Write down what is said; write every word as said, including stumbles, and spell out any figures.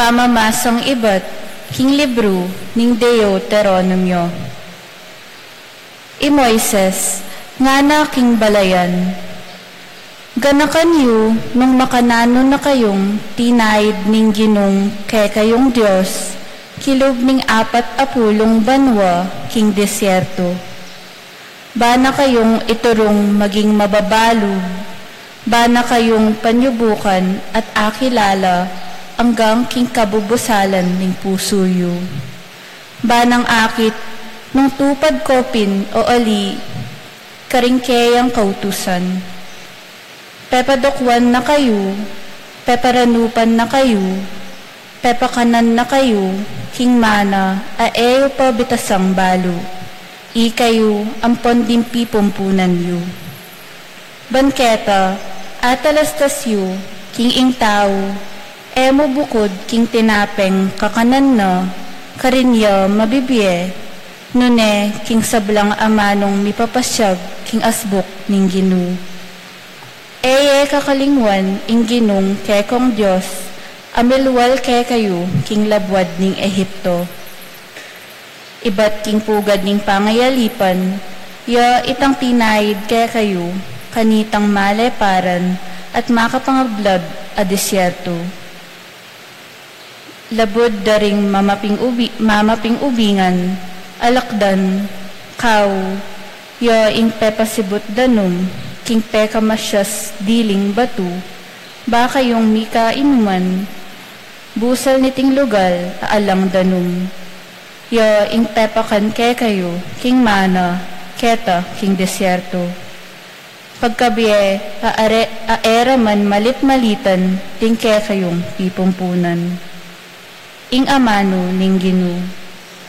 Pamamasang ibat king libru ning Deuteronomio. I Moises ngana king balayan, ganakan yu nung makananu na kayung tinaid ning Ginung kekayung Dios kilub ning apat a pulung banua king disyerto. Ba na kayung iturung maging mababalug, ba na kayung panyubukan at akilala anggang king kabubusalan ning pusu yu. Ba nang akit nung tupad ko pin o ali karing keyang kautusan. Pepadukwan na kayu, peparanupan na kayu, pepakanan na kayu king mana a e yu pa bitasang balu, ikayu ampon ding pipumpunan yu. Ban keta atalastas yu king ing tau e mu bukud king tinapeng kakanan na karin ya mabibie, nune king sablang amanung mipapasyag king asbuk ning Ginu. E ye kakalingwan ing Ginung kekong Dios a milwal kekayu king labuad ning Egipto. Ibat king pugad ning pangayalipan ya itang tinaid kekayu kanitang maleparan at makapangablab a disyerto. Labud da ring mamaping ubi-, mamaping ubingan, alakdan, kau, ya ing pepasibut danum king pekamasyas diling batu, ba kayung mikainuman, busal niting lugal a alang danum, ya ing pepakan kekayu king mana keta king disyerto. Pagkabie a, are, a e ra man malit-malitan ding kekayung pipumpunan. Ing amanu ning Ginu.